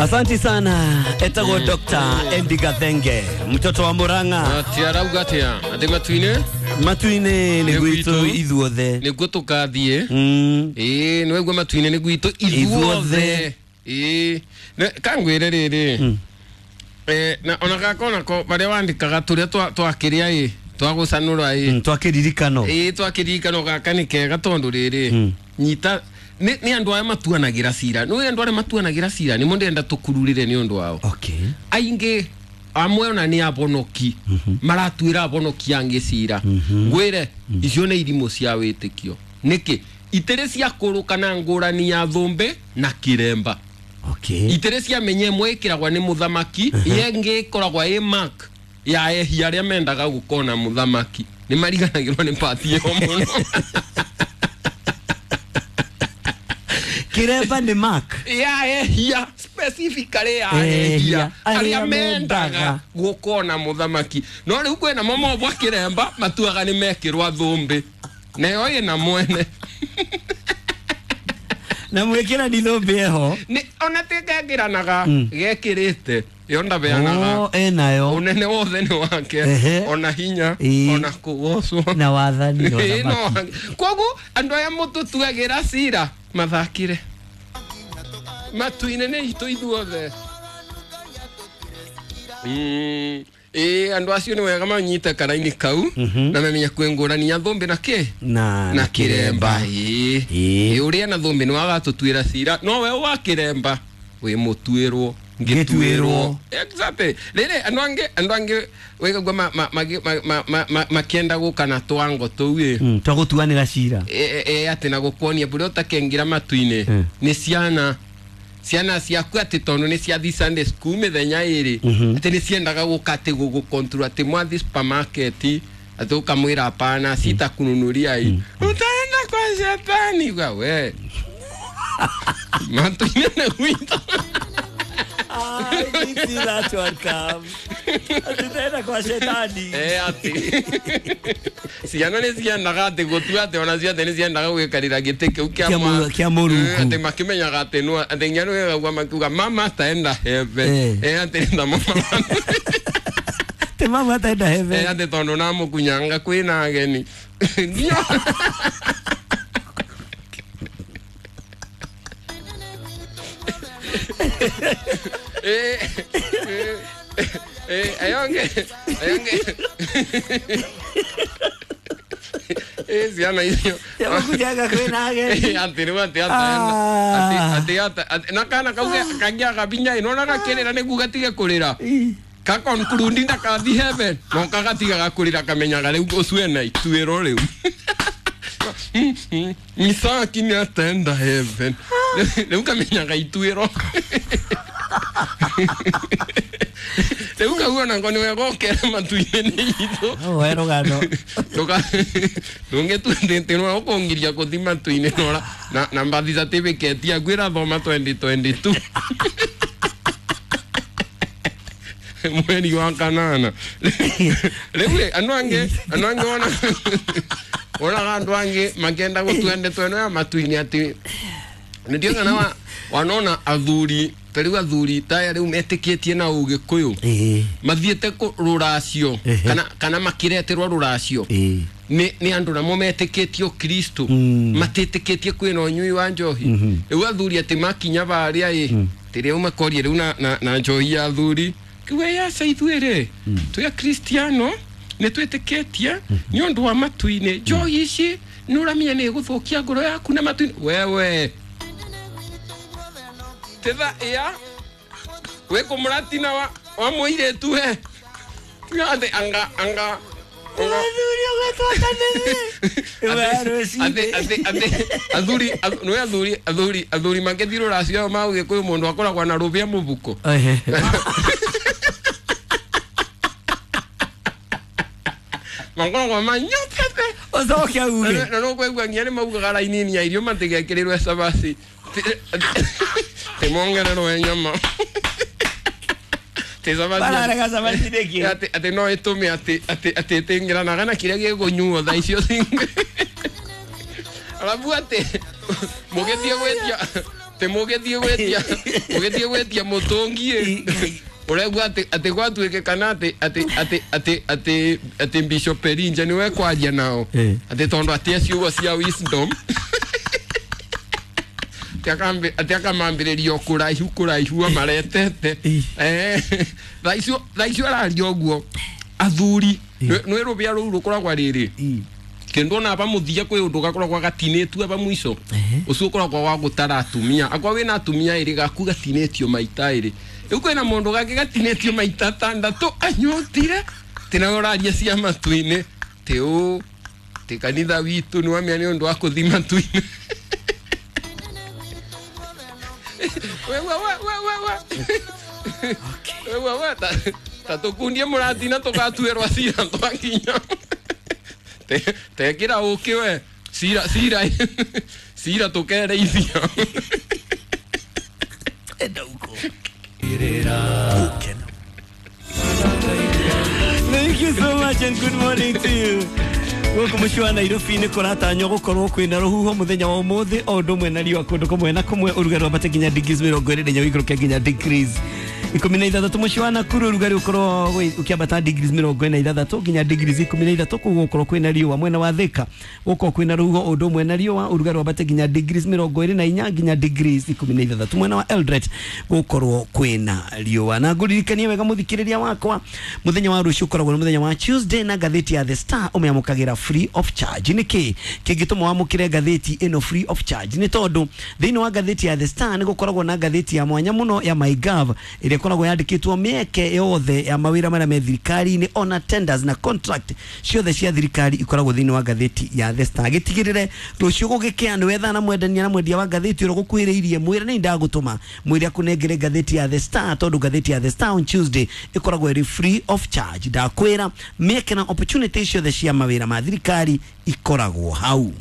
Asante sana etagwo Dr. Andy Gathenge, mtoto wa Murang'a. Atia arauga atia atĩ matu-inĩ matu-inĩ nĩ Nĩ gwitũ gwitũ. ithuothe. Nĩguo tũkathiĩ. Ĩĩ, nĩ waigua matu-inĩ nĩ gwitũ Ithuothe. ithuothe. Ĩĩ. Kangwĩre rĩrĩ, na ona gaka onako barĩa wandĩkaga tũrĩa twakĩrĩa ĩ twagũcanũra ĩ. Twakĩririkano. Ĩĩ, twakĩririkano gaka nĩ kega tondũ rĩrĩ, nyita nĩ andũ aya matuanagĩra cira, nĩ andũ arĩa matuanagĩra cira nĩmo ndĩrenda tũkururĩre nĩ ũndũ wao. Aingĩ amwe ona nĩ abonoki maratuĩra abonoki angĩ cira. Ngwĩre icio nĩ irimũ cia wĩtĩkio. Nĩkĩ itĩrĩ cia kũrũka na ngũrani ya thũmbĩ na kĩremba? Itĩrĩ cia menya ĩmwe ĩkĩragwa nĩ mũthamaki, ĩngĩ ĩkoragwa ĩ mark ya ehia arĩa mendaga gũkona mũthamaki. Nĩ mariganagĩrwo nĩ pati ĩyo mũno. Kiremba nĩ mark ya ehia, specifically ya Ehia, ehia arĩa arĩa mendaga mendaga gũkona mũthamaki. No rĩu kwĩna mo mobwa kĩremba matuaga nĩ mekĩrwa thũmbĩ nayo ĩna mwene. Na mwĩkĩra ni thũmbĩ eho. Nĩ ona tigekĩranaga gekĩrĩte ĩyo ndabeanaga. Oh, enayo. Ũnene wothe nĩ wake. Ona hinya, ona kũgocwo na wathani na Ĩĩ, no ũthamaki. wake. Koguo andũ aya mũtũtuagĩra cira mathakire matu-inĩ nĩ itũ ithuothe. Ĩĩ, andũ acio nĩ wega manyite karaini kau na mamenya kwĩ ngũrani ya thũmbĩ na kĩ na na kĩremba. Ĩĩ. Ĩĩ. Ĩĩ, ũrĩa na thũmbĩ nĩ wagatũtuĩra cira, no we wa kĩremba wĩ mũtuĩrwo. Ngĩtuĩrwo. Exactly. Rĩrĩ andũ angĩ wĩgagua makĩenda gũka na twango tũu ĩ. Twagũtuanĩra cira. Atĩ na gũkuonia bũrĩa ũtakengĩra matu-inĩ nĩ ciana ciaku atĩ tondũ nĩ ciathi Sunday school mĩthenya ĩrĩ, atĩ nĩ ciendaga gũka atĩ gũgũcontrol atĩ mwathi supermarket atĩ ũkamwĩra hapana sitakununuria hii, utaenda kwa shetani. Uga we matu-inĩ nĩ gwitũ. I didn't see that one come. Tutaenda kwa shetani. Atĩ ciana nĩ ciendaga atĩ gũtua atĩ ona ciothe nĩ ciendaga gwĩkarĩra gĩtĩ kĩu Kĩa kĩa Mũrungu. Atĩ makĩmenyaga atĩ no atĩ nginya nĩ makiuga mama ataenda heaven. Atĩ nĩ tamo Te mama ataenda heaven. Atĩ tondũ namũkunyanga kwĩna ageni nginya. Ayonge ayonge ciana icio Te kwĩna ageni. Atĩ rĩu atĩ ataenda atĩ atĩ na kana kau kangĩaga binya ĩno na gakĩrĩra nĩguo gatige kũrĩra, kakonklundi ndakathi heaven, no kagatigaga kũrĩra kamenyaga rĩu ũcio ena ituĩro rĩu Misaki nĩ atenda heaven, rĩu kamenyaga ituĩro rĩu kau onako nĩ wega ũkere matu-inĩ nĩ itũ. Oh, we rũgano. Ndũngĩtuĩtĩrwo ũkũngiria kũthi matu-inĩ nora na mbathi certificate yaku ĩrathoma 2022 mweri wa kanana. Rĩu rĩ, andũ angĩ ona wonaga andũ angĩ makĩenda gũtua ndeto ĩno ya matu-inĩ atĩ nĩndio kana wanona athuri ta rĩu athuri taya rĩu metĩkĩtie na ũgĩkũyũ mathiĩte rũracio kana makĩreterwo rũracio nĩ andũ namo metĩkĩtie ũkristo, matĩtĩkĩtie kwĩna ũnyui wa njohi. Rĩu athuri atĩ makinya barĩa ĩ tĩrĩa makoria rĩu na njohi ya athuri kiuga yaca ithuĩ rĩ twĩ akristiano nĩ twĩtĩkĩtie nĩ ũndũ wa matu-inĩ njohi ici nĩ ũramenya nĩ ĩgũthũkia ngoro yaku na matu-inĩ wewe titha iya wĩ kũmũratina wa mũirĩtu we. Tiga atĩ anga anga anga Athuri ũgetwo kanitha. Atĩ atĩ atĩ athuri nĩ athuri makĩthiĩ rũracio ma ũgĩkũyũ mũndũ akoragwo na rũbĩa mũbuko. Makoragwo manyotete. Ũcoke auge. Na no kwaigua nginya nĩ maugaga raini ya irio matigekĩrĩrwo cabaci tĩ mongererwo nyama tĩ cabaci. Bararega cabaci nĩkĩ? Atĩ no ĩtũme atĩ ĩtĩngĩranaga na kĩrĩa gĩkũnyuo thaa icio cingĩ, arabu atĩ mũgĩthiĩ gwĩtia Ati mugithie gwetia mugithie gwetia mutungi uregua ati ati gwatuike kana ati ati ati ati ati ati Bishop Erinja niwe kwaria nao ati tondu ati ciugo cia wisdom ati akamambiriria kuraihu kuraihu amaretete thaa icio araria uguo athuri nä rå bä a rå u rå koragwa rä rä kä ndå ona bamuthia kwä å ndå gakoragwa gatinätue ba mwico å cio å koragwa wa gå tara atumia akwa wä na atumia ä rä gaku gatinätio maita ä rä rä u kwä na må ndå gangä gatinätio maita tandatå anyotire tä nawe å raria cia matu-inä tä å tä kanitha witå nä wamia nä å ndå wa kå thi matu-inä we ta tå kundie må ratina tå gatuä cira twakinya tekä ra å kä we cira cira cira tå kereithia enda huko. Thank you so much and good morning to you. Gũkũ mũciĩ wa Nairobi nĩ kũratanywo gũkorwo kwĩna rũhuho mũthenya wa ũmũthĩ o ũndũ ũmwe na riũa kũndũ kũmwe na kũmwe ũrugarĩ wambate nginya degrees 24 ũikũrũke nginya degrees 16. Mũciĩ wa Nakuru ũrugarĩ ũkorwo ũkĩambata degrees 46 nginya degrees 13 kũu gũkorwo kwĩna riũa. Mwena wa Thika gũkorwo kwĩna rũhuho ũndũ ũmwe na riũa ũrugarĩ wambate nginya degrees 24 nginya degrees 16. Mwena wa Eldoret gũkorwo kwĩna riũa. Na ngũririkanie wega mũthikĩrĩria wakwa mũthenya wa rũciũ ũkoragwo nĩ mũthenya wa Tuesday na ngathĩti ya The Star ũmĩamũkagĩra free of charge. Nĩkĩ kĩngĩtũma wamũkĩre ngathĩti ĩno free of charge? Nĩ tondũ thĩinĩ wa ngathĩti ya The Star nĩ gũkoragwo na ngathĩti ya mwanya mũno ya MyGov ĩrĩa ĩkoragwo yandĩkĩtwo mĩeke yothe ya mawĩra marĩa me thirikari-inĩ ona tenders na contract ciothe cia thirikari ikoragwo thĩinĩ wa ngathĩti ya The Star. Gĩtigĩrĩre rũciũ gũgĩkĩa nĩ wetha na mwendania na mwendia wa ngathĩti ũrĩa ũgũkuhĩrĩirie mwĩre nĩ ndagũtũma mwĩre akũnengere ngathĩti ya The Star tondũ ngathĩti ya The Star on Tuesday ĩkoragwo ĩrĩ free of charge. Ndakwĩra mĩeke na opportunity ciothe cia mawĩra ma thirikari ikoragwo hau.